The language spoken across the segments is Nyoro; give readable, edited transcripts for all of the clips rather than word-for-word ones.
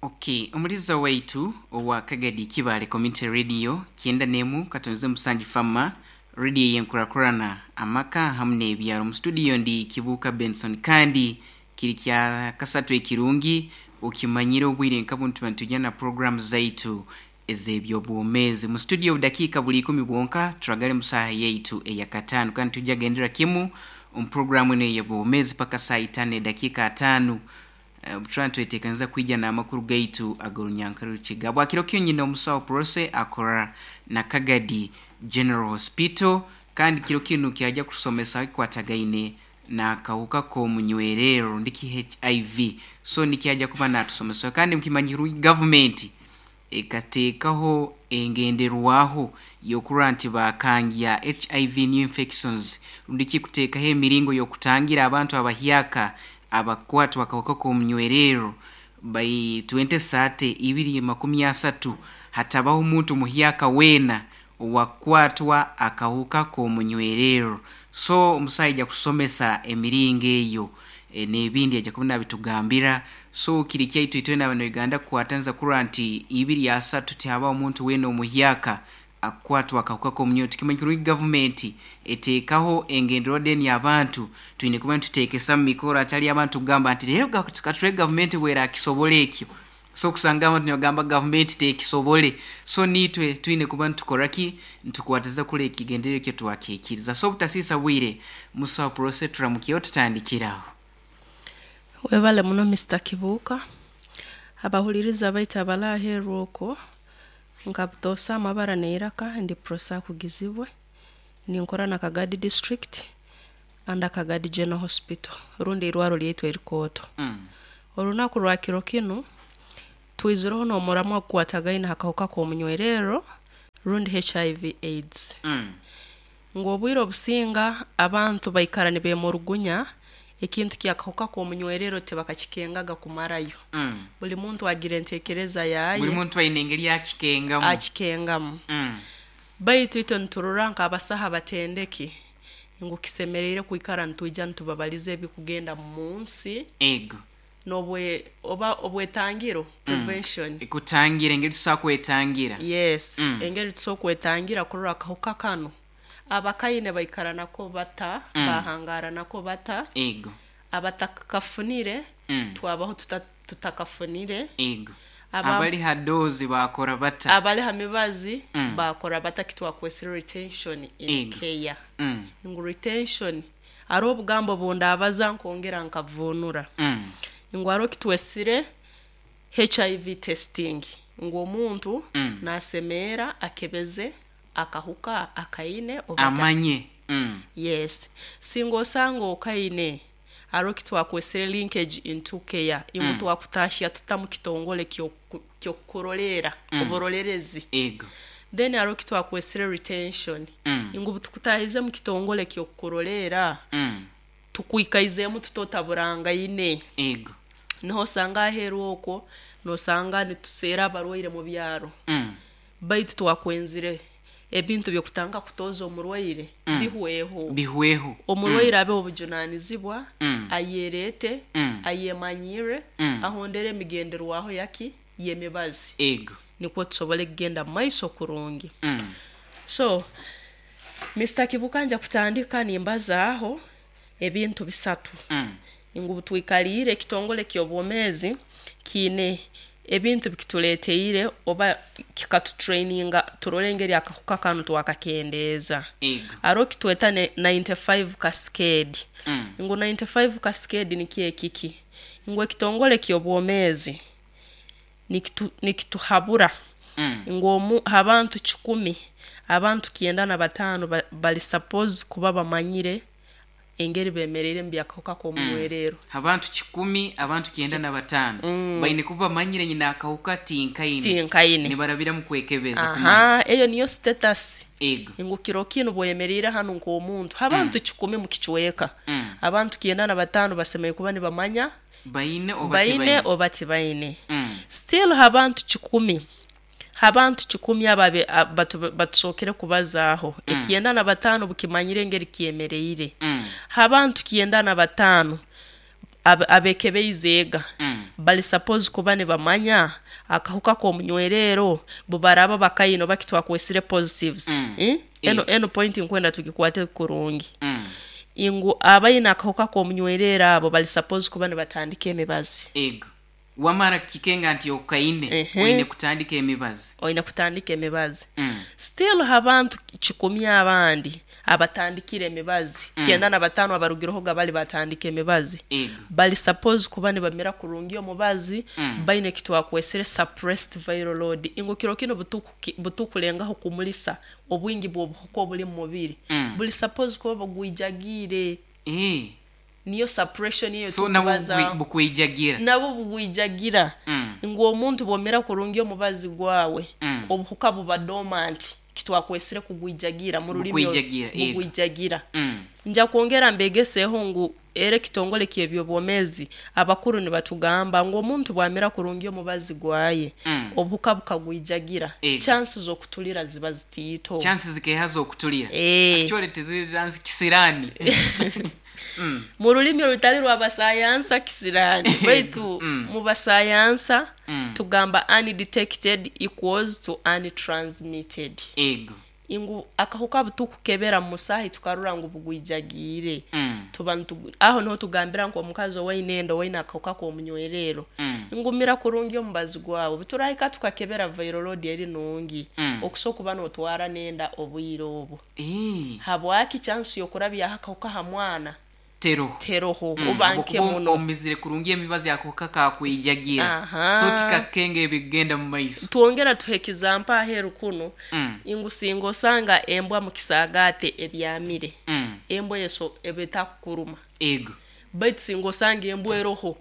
Okay, omuliza waitu owa Kagadi Kibale Community Radio 91.7 Fama radio yenkurakurana amaka hamu n'ebyaro. Mu studio ndi Kibuuka Benson, kandi kiri kya kasatu ekirungi okimanyire obwire nka bunu tuba nitujya na program zaitu ez'ebyobwomeezi. Mu studio obudakiika buli ikumi bwonka turagale mu saaha yaitu eyakataano, kandi tujja gendera kimu omu programu enu ey'obwomeezi paka saaha itaano edakiika ataano. Obuturaba nitwetekaniza kwija n'amakuru gaitu ag'orunyankore rukiga. Bwakiro kinu nyine omusawo Prose akora na Kagadi General Hospital, kandi kiro kinu kyaja kutusomesa kikwatagaine n'akahuka k'omunywererro ndiki HIV. So nikyaja kuba natusomesa, kandi mukimanyirwe gavumenti ekateekaho engenderwaho y'okurora nti bakangya HIV new infections, rundi ki kuteekaho emiringo y'okutangira abantu abahyaka abakukwatwa akahuka k'omunywererro by 2030 2030 hatabaho omuntu muhyaka weena owakukwatwa akahuka k'omunywererro. So omusaho aija kutusomesa emiringo eyo n'ebindi aija kuba nabitugambira. So kiri kyaitu itwena abana Uganda kukwataniza kurora nti 2030 tihabaho omuntu weena omuhyaka akukwatwa akahuka k'omunywererro. Tukimanya kurungi gavumenti eteekaho engenderwaho then abantu twine kuba nituteekesa mu mikoro, hatali abantu kugamba nti leero katurebe gavumenti bwerakisobora ekyo. So kusanga abantu nibagamba gavumenti tekisobole. So niitwe twine kuba nitukora ki? Nitukwatiriza kurora ekigendererwa ekyo twakihikiriza. So obutasiisa bwire, musaho Prose turamukyeho tutandikire aho. Webale muno Mister Kibuuka. Abahuliriza baitu abali aheeru okwo, nka butoosa amabara n'eiraka ndi Prossy Akugizibwe, ninkora na Kagadi District under Kagadi General Hospital rundi eirwaro lyaitu erikooto. Orunaku rwa kiro kinu, twizireho n'omuramwa ogukwatagaine ha kahuka k'omunywererro rundi HIV AIDS. Ngu obwire obusinga abantu baikara nibemurugunya ekintu ky'akahuka k'omunywererro tibakakikengaga kumarayo. Buli muntu agira entekereza yaye. Buli muntu aine engeri akikengamu. Akikengamu. Baitu itwe niturora nk'abasaho abatendeki ngu kisemeriire kwikara nitwija nitubabaliza ebikugenda mu nsi. Ego. N'obwe oba obwetangiro, prevention. Kutangira, engeri tusobora kwetangira. Yes, engeri tusobora kwetangira kurora akahuka kanu abakaine baikara nako bata, bahangaara nako bata. Ego. Abatakafunire twabaho tuta tutakafunire. Ego. Abali ha doozi baakora bata? Abali ha mibazi baakora bata kitwakwesire retention in care. Ngu retention haroho obugambo obu ndaabaza nkongera nkavuunura. Ngu haroho kitwesire HIV testing, ngu omuntu naasemeera akebeze akahuka akaine oba Amanye. Yes. Singa osanga okaine, haroho kitwakwesire linkage into care, ngu twakutaahya tuta mu kitongole ky'okukuroleera, oburolerezi. Ego. Then haroho kitwakwesire retention, ngu obutukutaahize mu kitongole ky'okukuroleera, tukwikaizeemu tuta otaburangaine. Ego. Niho osanga aheeru okwo, nosanga nituseera abarwaire mu byaro. Baitu twakwenzire ebintu by'okutandika kutooza omurwaire bihweho. Bihweho. Omurwaire abeho obujunanizibwa, ayereete, ayemanyirre, ahondere emigenderwaho yaki? Y'emibazi. Ego. Nikwo tusobole kugenda mu maiso kurungi. So, Mister Kibuka nja kutandika nimbazaaho ebintu bisatu. Ngu obutwikaliire ekitongole ky'obwomeezi kiine ebintu bikituleeteire oba kikatutureyininga turole engeri akahuka kanu twakakendeeza. Haroho kitweta 95 cascade. Ngu 95 cascade nikyo ekiki? Ngu ekitongole ky'obwomeezi nikituhabura ngu omu ha bantu kikumi, abantu kyenda na bataano bali suppose kuba bamanyire engeri bemereire mu by'akahuka k'omunywererro. Ha bantu kikumi, abantu 95 baine kuba bamanyire nyina akahuka tinkaine. Tinkaine. Nibarabira mu kwekebeza kumanya. Aha, eyo niyo status. Ego. Ngu kiro kinu bw'oyemeriire hanu nk'omuntu, ha bantu kikumi mu kicweka, abantu 95 basemeriire kuba nibamanya baine oba baine tibaine. Oba tibaine. Still ha bantu kikumi, ha bantu kikumi abo abe batusookere kubazaaho, 95 bukimanyire engeri kyemereire. Ha bantu 95. Abekebeize ega bali suppose kuba nibamanya akahuka k'omunywerero bubaraba bakaine oba kitwakwesire positives. Eh? Eno point nkwenda tugikwate kurungi, ngu abaine akahuka k'omunywerero abo bali suppose kuba nibatandika emibazi. Ego, wamara kikenga nti okaine, oine kutandika emibazi. Oine kutandika emibazi. Still habantu 100 abandi abatandikire emibazi, 95 abarugirehoga bali batandika emibazi, bali suppose kuba nibamira kurungi omubazi, baine kitwakwesire suppressed viral load, ngu kiro kinu butukulengaho kumulisa obwingi bw'obuhuka obuli mu mubiri, buli suppose kuba bugwijagiire. Niyo suppression eyo. So nabwo tukubaza bukwijagira. Nabwo bugwijagira. Ngu omuntu bwomera kurungi omubazi gwawe, obuhuka buba dormant, kitwakwesire kugwijagira mu rulimi. Bukwijagira, ego. Bugwijagira. Nja kwongera mbegeseho ngu era ekitongole ky'ebyobwomeezi abakuru nibatugamba ngu omuntu bwamira kurungi omubazi gwaye, obuhuka bukagwijagira, chances z'okutulira ziba zitiito. Chances zikeha z'okutulira? Actually tiziri chance, kisirani. Mu rulimi orutali rw'abasayansa kisirani, baitu mu basayansa tugamba undetected equals to untransmitted. Ngu akahuka butukukebera mu musaahi tukarora ngu bugwijagiire, tuba aho niho tugambira nk'omukazi owaine enda owaine akahuka k'omunywerero, ngumira kurungi omubazi gwawe, buturahika tukakebera viral load eri nungi, okusobola kuba n'otwara n'enda obwire obu. Habwaki? Chance y'okurabyaho akahuka ha mwana Teroho. Teroho, oba nke Habwokuba muno. Omizire kurungi emibazi, akahuka kakwijagira. So tikakenga ebigenda mu maiso. Twongera tuha example aheeru kunu, ngu singa osanga embwa mu kisaagaate ebyamire, embwa eyo eba etakukuruma. Baitu singa osanga embwa eroho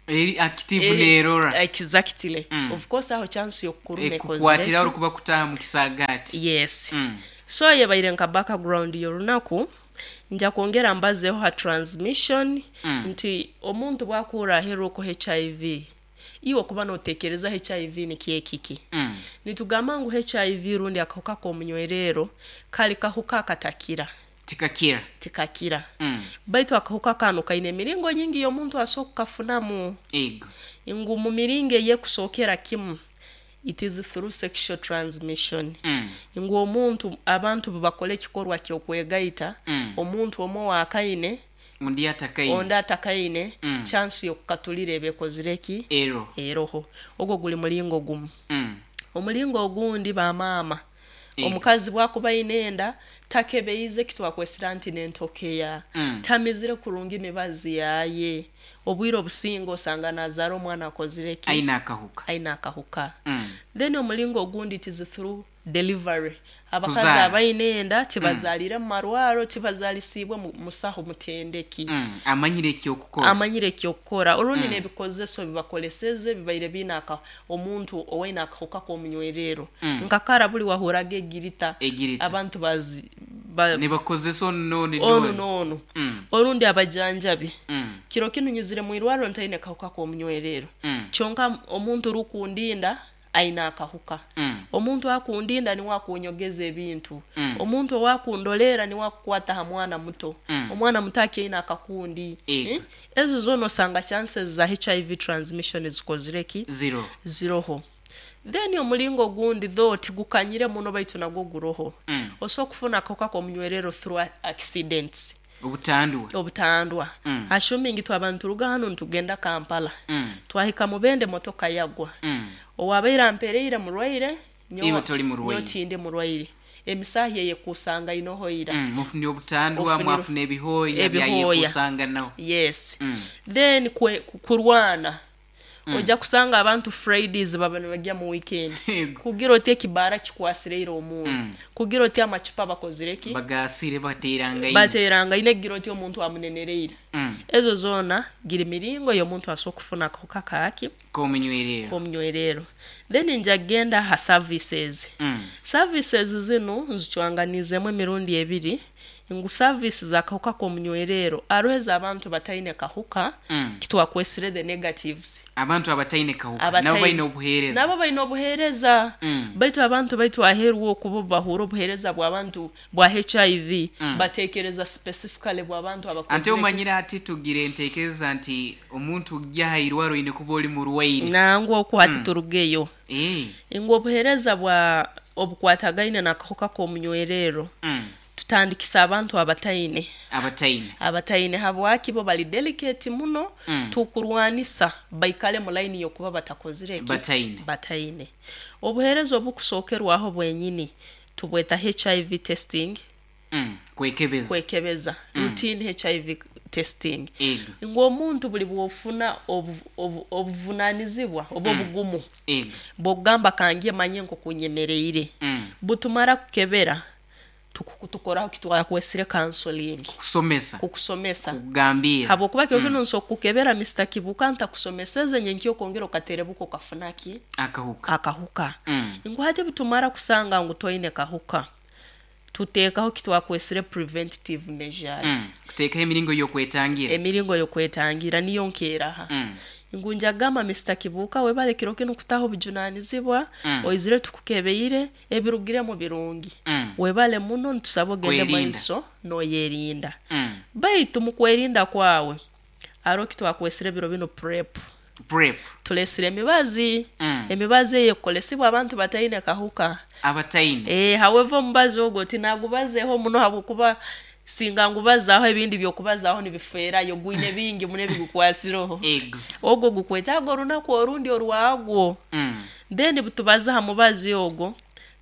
Eri active nerora. Exactly. Of course aho chance y'okukuruma Ekukwatira ekozire. orukuba kutaha mu kisaagaati. Yes. So yebaire nka background y'orunaku. Nja kwongera mbazeho ha transmission, nti omuntu bwakuhurra aheeru oko HIV, iwe okuba notekereza HIV nikyo ekiki. Nitugamba ngu HIV rundi akahuka k'omunywerero kali kahuka akatakira. Tikakira. Tikakira. Baitu akahuka kanu kaine emiringo nyingi y'omuntu asobola kukafunamu. Ngu mu miringo ey'ekusookera kimu, it is through sexual transmission, ngu omuntu, abantu bubakora ekikorwa ky'okwegaita, omuntu omwe owakaine, Undi atakaine. Ondi atakaine, chance y'okukatulira eba ekozire ki? Ero. Eroho. Ogwo guli mulingo gumu. Omulingo ogundi, bamaama, omukazi bwakuba aine enda, takebeize kitwakwesira nti nentokeya, tamizire kurungi mibazi yaye, obwire obusinga osanga nazaara omwana akozire ki? Aine akahuka. Aine akahuka. Then omulingo ogundi, it is through delivery. Abakazi Kuzaara. abaine enda tibazaalire mu marwaro, tibazaalisiibwe musaho mutendeki Amanyire ekyokukora. Amanyire ekyokukora, orundi n'ebikozeso bibakoleseze bibaire biine omuntu owaine akahuka k'omunywerero. Nkakara buli wahuraga egirita, Egirita. abantu bazi Nibakozesa onu n'onu onu n'onu. N'onu. Orundi abajanjabi. Kiro kinu nyizire mu irwariro ntaine kahuka k'omunywerero, kyonka omuntu rukundinda aine akahuka. Omuntu akundinda niwe akunyogeza ebintu, omuntu owakundolera niwe akukwata ha mwana muto, omwana muto akyaine akakundi. Eh? Ezo zoona osanga chances za HIV transmission zikozire ki? Zero. Ziroho. Then omulingo ogundi, though tigukanyire muno, baitu nagwo guroho, osobola kufuna akahuka k'omunywerero through accidents. Obutandwa. Obutandwa. Assuming twaba nituruga hanu nitugenda Kampala, twahika Mubende, motoka yagwa, owabaire ampereire murwaire. Iwe toli murwaire. Nyowe tindi murwaire, emisaahi eyekusanga inoho ira. Mufunire obutandwa, mwafuna ebihooya. Ebihooya. Byayekusanganaho. Yes. Then kurwana, ojja kusanga abantu Fridays baba nibajya mu weekend, kugira oti ekibaara kikwasireire omuntu, kugira oti amacupa bakozire ki? Bagasire baterangaine. Baterangaine, kugira oti omuntu amunenereire. Ezo zoona giri miringo y'omuntu asobola kufuna akahuka kaki? K'omunywerero. K'omunywerero. Then nja kugenda ha services. Services zinu nzicwanganiizemu emirundi ebiri. Ngu service z'akahuka k'omunywerero aroho abantu bataine kahuka, kitwakwesire the negatives. Abantu abataine kahuka nabo baine obuheereza. Nabo baine obuheereza. Baitu abantu baitu aheeru okubo bahura obuheereza bw'abantu bwa HIV, bateekereza specifically bw'abantu Ante abakozire. Omanyire ati tugira enteekereza nti omuntu ojja ha irwaro oine kuba oli murwaire. Nangwa oku hati turugeyo. Ngu obuheereza bwa obukwatagaine n'akahuka k'omunywerero, tutandikisa abantu abataine. Abataine. Abataine habwaki bo bali delicate muno, tukurwanisa baikale mu line y'okuba batakozire ki? Bataine. Bataine. Obuheereza obukusookerwaho bwenyini tubweta HIV testing. Kwekebeza. Kwekebeza. Routine HIV testing. Ego. Ngu omuntu buli bw'ofuna obuvunanizibwa oba obugumu Ego. bw'okugamba kangye manye nk'oku nyemereire, butumara kukebera tukoraho kitwakwesire counseling. Kukusomesa. Kukusomesa. Kukugambira. Habwokuba kiro kinu nso kukebera Mr. Kibuuka ntakusomeseze nyenkya okongera okaterebuka okafuna ki? Akahuka. Akahuka. Ngu hati butumara kusanga ngu toine kahuka, tuteekaho kitwakwesire preventative measures. Kuteekaho emiringo y'okwetangira. Emiringo y'okwetangira niyo nkeeraha. Ngu njagamba Mr. Kibuuka webale kiro kinu kutaho obujunanizibwa, oizire tukukebeire, ebirugiremu birungi. Webale muno, nitusaba ogende Kwerinda. Maiso noyerinda. Baitu mu kwerinda kwawe haroho kitwakwesire ebiro binu PrEP. PrEP. Tulesire emibazi. Emibazi eyo ekukolesibwa abantu bataine kahuka. Abataine. However omubazi ogwo tinagubazeeho muno habwokuba singa ngubazaaho ebindi by'okubazaaho nibifeerayo, gwine bingi muno ebigukwasireho. Ego. Ogwo gukwetaaga orunaku orundi orwagwo. Then butubaza ha mubazi ogwo,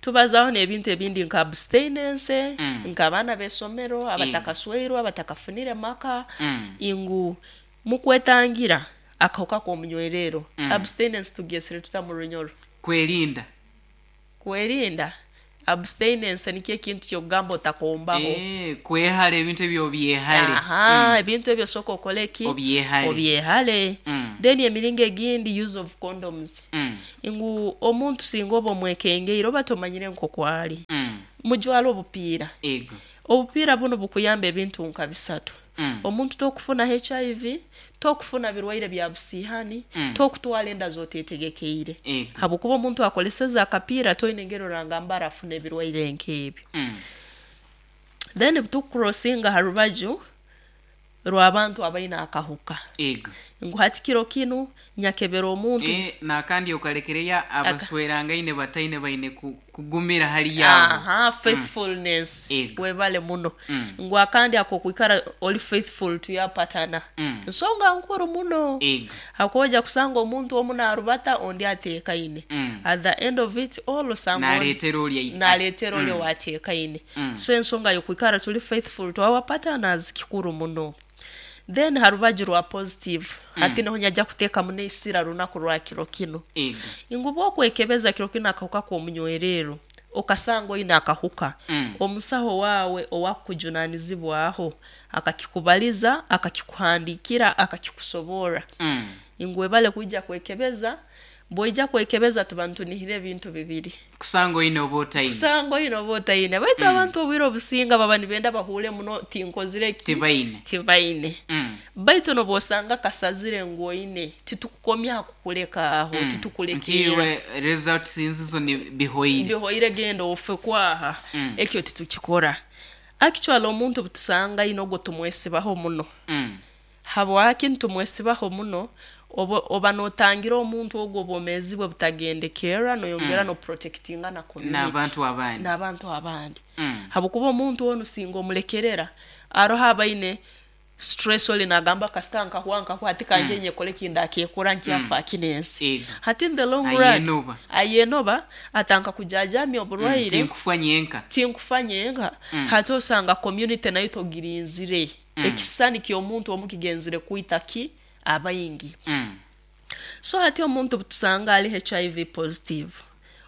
tubazaaho n'ebintu ebindi nka abstinence, nk'abaana b'esomero abatakasweirwe, abatakafunire maka, ngu mukwetangira akahuka k'omunywerero. Abstinence tugyesire tuta mu Runyoro? Kwerinda. Kwerinda. Abstinence nikyo ekintu ky'okugamba otakombaho. Kwehara ebintu ebyo obyehale. Aha, ebintu ebyo sooka okole ki? Obyehale. Obyehale. Then emiringo egindi, use of condoms. Ngu omuntu singa oba omwekengeire oba tomanyire nk'oku ali, mujwale obupiira. Ego. Obupiira bunu bukuyamba ebintu nka bisatu. Omuntu tokufuna HIV, tokufuna birwaire bya busiihani, tokutwara enda z'oteetegekeire. Ego. Habwokuba omuntu akoleseze akapiira toine engeri orangamba arafuna ebirwaire nk'ebyo. Then butukucrossinga ha rubaju rw'abantu abaine akahuka. Ego. Ngu hati kiro kinu nyakebera omuntu. Nakandi okalekereyo abaswerangaine bataine baine kugumira hali yabo. Aha, faithfulness. Ego. Webale muno. Ngu akandi ak'okwikara oli faithful to your partner. Nsonga nkuru muno. Ego. Hakuba kusanga omuntu omu narubata ondi ateekaine. At the end of it all osanga Naleetera oli naleetera oli owaateekaine. So ensonga y'okwikara tuli faithful to our partners kikuru muno. Then ha rubaju rwa positive, hati niho nyajja kuteekamu n'eisira runaku rwa kiro kinu. Ego. Ngu bw'okwekebeza kiro kinu akahuka k'omunywerero, okasanga oine akahuka, omusaho waawe owakukujunanizibwaho akakikubaliza, akakikuhandiikira, akakikusoborra. Ngu webale kwija kwekebeza, bw'oija kwekebeza tuba nitunihira ebintu bibiri. Kusanga oine oba otaine. Kusanga oine oba otaine. Baitu abantu obwire obusinga baba nibenda bahuure muno tinkozire ki? Tibaine. Tibaine. Baitu n'obwosanga kasazire ngu oine, titukukomya ha kukuleka aho, titukulekeera. Nti iwe results nzizo ni bihoire. Bihoire genda ofe kwaha. Ekyo titukikora. Actually omuntu obutusanga aine ogwo tumwesibaho muno. Habwaki nitumwesibaho muno? Oba n'otangira omuntu ogwo obwomeezi bwe butagendekerra, noyongera n'oprotectinga na community. N'abantu abandi. N'abantu abandi. Habwokuba omuntu onu singa omulekerera, aroho abaine stress oli nagamba kasita nkahwa nkahwa hati kangye nyekole kindakyekora nkyafa kinensi. Ego. Hati in the long run Ayenoba. Ayenoba atanka kujajamya oburwaire. Tinkufa nyenka. Tinkufa nyenka. Hati osanga community nayo togirinzire. Ekisisani ky'omuntu omu kigenzire kwita ki abaingi. So hati omuntu butusanga ali HIV positive,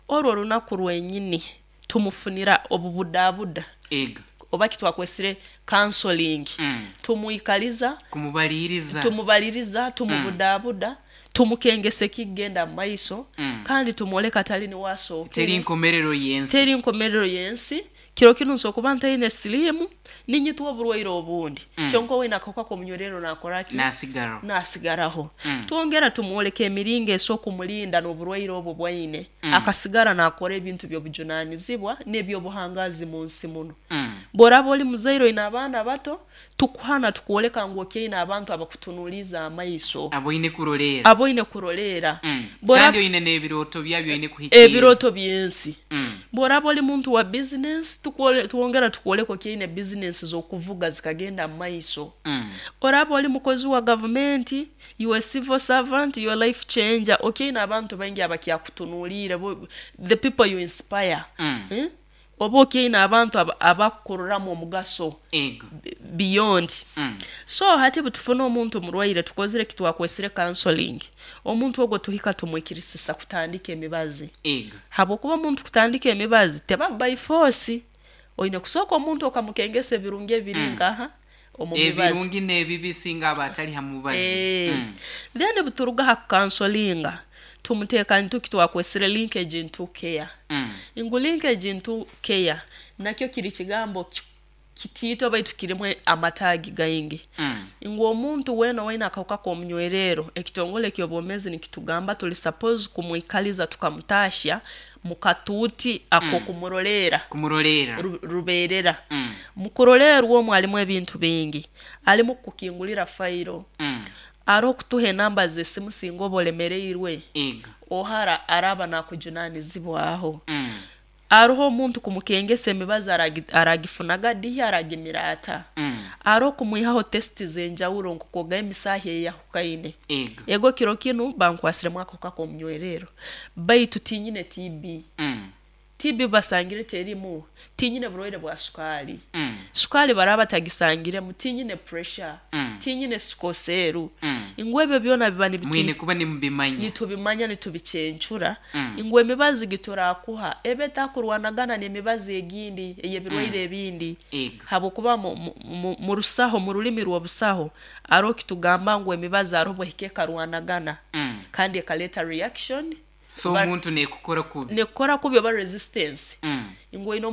orwo orunaku rwenyini tumufunira obubudabuda. Ego. Oba kitwakwesire counseling. Tumwikaliza, Kumubaliriza. Tumubaliriza, tumubudabuda, tumukengesa ekigenda mu maiso, kandi tumwoleka tali niwe asookere. Teri nkomerero y'ensi. Teri nkomerero y'ensi. Kiro kinu nso kuba ntaine siliimu, ninyitwa oburwaire obundi. Kyonka owaine akahuka k'omunywererro naakora ki? Nasigaraho. Naasigaraho. Twongera tumwoleka emiringo eso kumulinda n'oburwaire obu bwaine, akasigara naakora ebintu by'obujunaanizibwa n'eby'obuhangaazi mu nsi munu. Bw'oraaba oli muzaire oine abaana bato, tukuhana tukwoleka ngu okyaine abantu abakutunuuliize amaiso. Aboine kuroleera. Aboine kuroleera. Kandi oine n'ebirooto byabyo oine kuhikiriza. Ebirooto by'ensi. Bw'oraaba oli muntu wa bizinesi, twongera tukwoleka okyaine bizinesi z'okuvuga zikagenda mu maiso. Oraaba oli mukozi wa gavumenti, you a civil servant, you a life changer, okyaine abantu baingi abakyakutunuuliire, the people you inspire. Oba okyaine abantu abakukuroramu omugaso beyond. So hati butufuna omuntu murwaire, tukozire eki twakwesire counseling. Omuntu ogwo tuhika tumwikirisisa kutandika emibazi. Habwokuba omuntu kutandika emibazi teba by force. Oine kusooka omuntu okamukengesa ebirungi ebiri nkaha omu mibazi. Ebirungi n'ebibi singa aba atali ha mubazi. Then buturuga ha kukansolinga, tumuteeka ntuki twakwesire linkage into care. Ngu linkage into care nakyo kiri kigambo kitiito baitu kirimu amataagi gaingi. Ngu omuntu weena owaine akahuka k'omunywererro, ekitongole ky'obwomeezi nikitugamba tuli suppose kumwikaliza tukamutaahya mu katuuti ak'okumuroleera. Kumuroleera. Rubeerera. Mu kuroleerwa omu halimu ebintu bingi. Alimu kukukingulira fayiro, aroho kutuha enamba z'esimu singa oba olemereirwe, ohara araaba naakujunaanizibwaho. Aroho omuntu kumukengesa emibazi aragifunaga dihi, aragimira ata. Aroho kumwihaho test z'enjawulo nk'okwogaho emisaahi eyahukaine. Ego kiro kinu bankwasiremu akahuka k'omunywererro, baitu tinyine TB. TB basangire terimu, tinyine burwaire bwa sukaali. Sukaali baraaba batagisangiremu, tinyine pressure, tinyine sikoseeru. Ngu ebyo byona biba Mwine kuba nimubimanya. Nitubimanya, nitubicencura, ngu emibazi giturakuha ebe etakurwanagana n'emibazi egindi ey'ebirwaire ebindi. Habwokuba mu rusaho, mu rulimi rw'obusaho, aroho kitugamba ngu emibazi aroho bwehika ekarwanagana kandi ekaleeta reaction. So omuntu nekukora kubi. Nekukora kubi oba resistance. Ngu oine.